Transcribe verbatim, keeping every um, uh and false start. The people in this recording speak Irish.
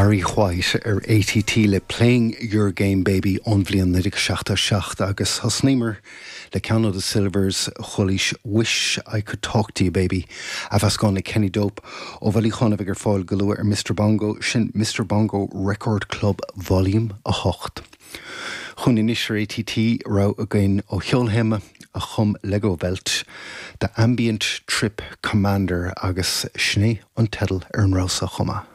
Barry White ar ATT le Playing Your Game Baby ón bhliain naoi déag seachtó seacht agus thosnaíomar le ceann ó The Sylvers chualaís Wish I Could Talk to You Baby a mheascán le Kenny Dope ó bhailiúchán a bheidh ar fáil go luath ar Mr Bongo sin Mr Bongo Record Club Volume a hocht. Chun anois ar ATT rogha againn ó cheolthéama a chum Legowelt, The Ambient Trip Commander agus sin é an teideal ar an rogha chomh maith.